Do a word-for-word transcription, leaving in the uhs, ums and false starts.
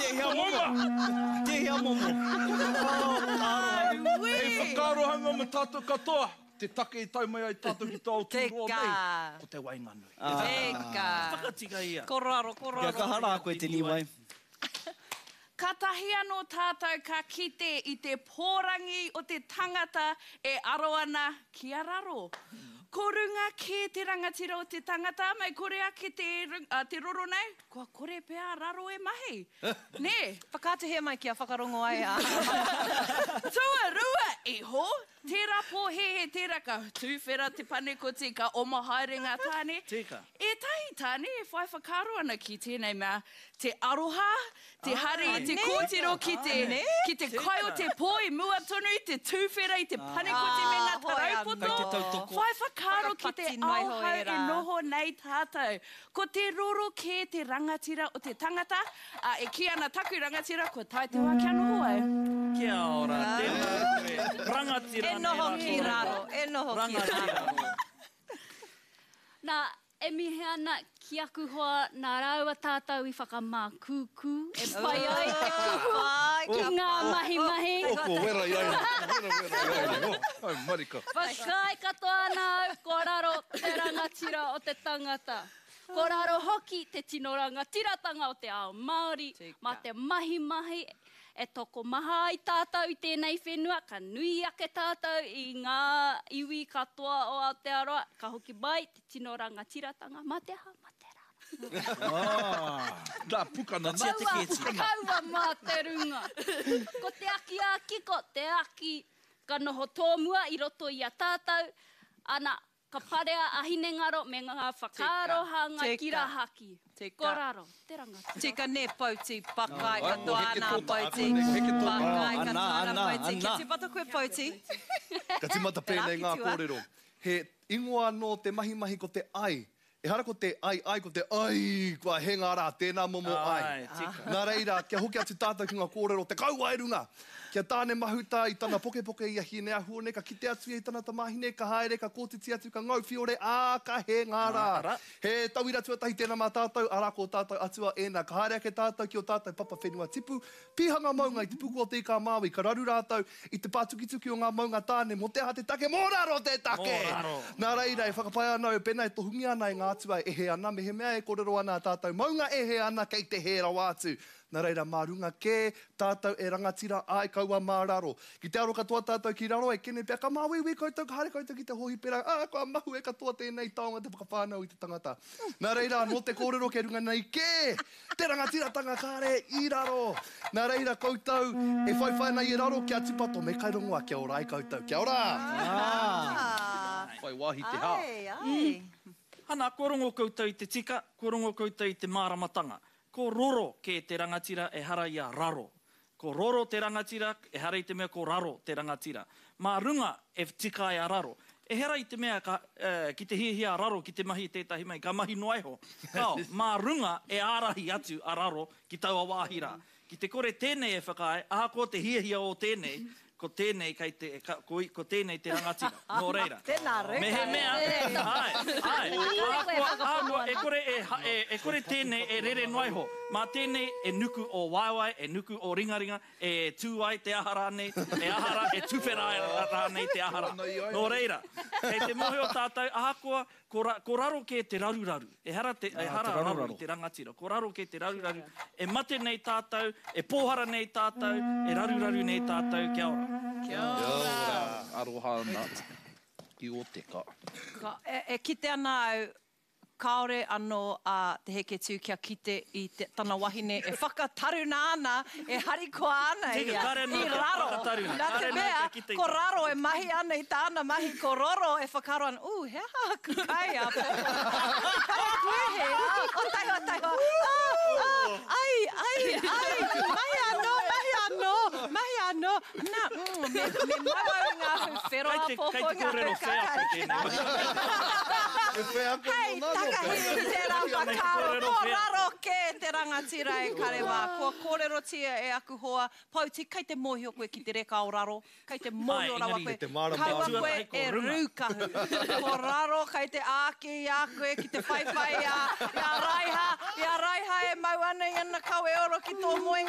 Tēhea momo? Tēhea momo? Hei whakaarohanga mō tātou katoa, te take i tae mai ai tātou ki te ao tūroa nei, ko te waenganui. Teka. Whakatika ia. Ko raro, ko raro. Kia kaha rā koe te Niwai. Katahi anō tātou ka kite i te pōrangi o te tangata e aro ana ki a raro. Ko runga kē te rangatira o te tangata, mei kore ake te, uh, te roro nei, kua kore pea a raro e mahi. Nē? Whakaatuhia mai kia whakarongo ai a. Tuarua iho, tērā pōhēhē tērā ka tūwhera te panekoti, ka oma haere ngā tāne. Tika. Ētahi tāne e whai whakaaro ana ki tēnei mea, te aroha, te hari, te kōtiro ki te, ki te kai o te pō i mua tonu i te tūwhera i te panekoti me ngā taraupoto. Whai whakaaro ki te ao hau e noho nei tātou. Ko te roro kē te rangatira o te tangata, ā, e kī ana taku rangatira, kua tae te wā kia noho au. Kia ora, tēnā koe. Rangatira E noho ki raro, e noho ki raro. Nā, e mihi ana ki aku hoa nā rāua tātou i whakamākūkū e pai ai te kuhu ki ngā mahimahi. Oh, ko wera i a ia. Wera, wera i a ia. Oh, ai marika. Whakaae katoa ana au, ko raro te rangatira o te tangata. Ko raro hoki te tino rangatiratanga o te ao Māori, mā te mahimahi e tokomaha ai tātou i tēnei whenua, ka nui ake tātou i ngā iwi katoa o Aotearoa, ka hoki mai te tino rangatiratanga, mā te aha, mā te raro. Nā, pukana, nā, Kaua, pukana. kaua mā te runga. Ko te aki ā-kiko, te aki ka noho tōmua i roto i a tātou, ana, ka parea a hinengaro me ngā whakaaro hāngai ki rahaki. Ko raro, te rangatira. Tika nē, Pouti, pakai katoa ana a Pouti. Pakai katoa ana a Pouti. Kia tīmata koe, Pouti. Ka tīmata pēnei ngā kōrero. He ingoa anō te mahimahi ko te ai. Ehara ko te ai ai, ko te ai, kua hē ngā rā, tēnā momo ai. Nā reira, kia hoki atu tātou ki ngā kōrero, te kauae runga! Kia Tāne Mahuta i tana pokepoke i a Hineahuone, ka kite atu ia i tana tamāhine, ka haere, ka kōtiti atu, ka ngau whiore, ā, ka hē ngā rā. He tauira tuatahi tēnā mā tātou, arā ko ō tātou atua ēnā. Ka haere ake tātou ki ō tātou papa whenua tipu, pīhanga maunga i te puku o Te Ika-a-Māui, ka raru rātou i te pātukituki o ngā maunga tāne, mō te aha te take? Mō raro te take! Nā reira, e whakapae ana au, pēnā e tohungia ana e ngā atua e hē ana, mehemea e kōrero ana a tātou maunga e hē ana, kei te hē rawa atu. Nā reira, mā runga kē tātou e rangatira ai kaua mā raro. Ki te aro katoa tātou ki raro, e kene pea ka māuiui koutou, ka haere koutou ki te hōhipera, ā, kua mahue katoa tēnei taonga te whakawhānau i te tangata. Nā reira, anō te kōrero kei runga nei kē te rangatiratanga kāre i raro. Nā reira koutou e whaiwhai ana i raro kia tūpato me kai rongoa kia ora ai koutou. Kia ora! Whai wāhi te hā. Ai, ai. Ana, kua rongo koutou i te tika, kua rongo koutou i te māramatanga. Ko roro kē te rangatira ehara i a raro. Ko roro te rangatira, ehara i te mea ko raro te rangatira. Mā runga e tika ai a raro. Ehara i te mea ka, eh, ki te hiahia a raro ki te mahi i tētahi mahi, ka mahi noa iho. Kao, mā runga e ārahi atu a raro ki taua wāhi rā. Ki te kore tēnei e whakaae, ahakoa te hiahia o tēnei, ko tēnei kei te, ka, ko, ko tēnei te rangatira. Nō reira. Tēnā reka. Mehemea, ai, ai, ahakoa, ahakoa, e kore e, e, e kore tēnei e rere noa iho. Mā tēnei e nuku o waewae, e nuku o ringaringa, e tū ai te aha rānei, e aha rā, e tuwhera ai rānei te aha rā. Nō reira, kei te mōhio tātou, ahakoa, ko, ra, ko raro kē te raruraru. Ehara te, ehara raro i te rangatira. Ko raro kē te raruraru. E mate nei tātou, e pōhara nei tātou, e raruraru nei tātou. Kia ora. Kia ora. Aroha ana ki o teka. Ka, e, e kite ana au, kāore anō a Te Heketū kia kite i te, tana wahine e whakataruna ana, e harikoa ana Tika, ia kāre anō i kia raro. whakataruna, Nā te kāre anō mea, kia kite i ko te- raro e mahi ana i tāna mahi, ko roro e whakaaro ana, ū, he aha aku kai a pōpō. Kare koe he, ā, o taihoa, taihoa, ā, ā, ai, ai, ai, mahi anō, mahi anō, mahi anō. Nā, mm, me, me mau au i ngā hau whero Kei a te, pōpō, kei te ngā hau kōrero wheako kakari. tēnei mahi. E wheako Hei, mō nā nō takahi i tērā whakaaro, ko raro kē te rangatira e kare mā. Kua kōrerotia e aku hoa, Pouti, kei te mōhio koe ki te reka o raro, kei te mōhio rawa koe, kaua koe e rūkahu. Ko raro kei te āki i a koe ki te whaiwhai i a, i a Raiha, i a Raiha e mau ana i ana kawe oro ki tō moenga.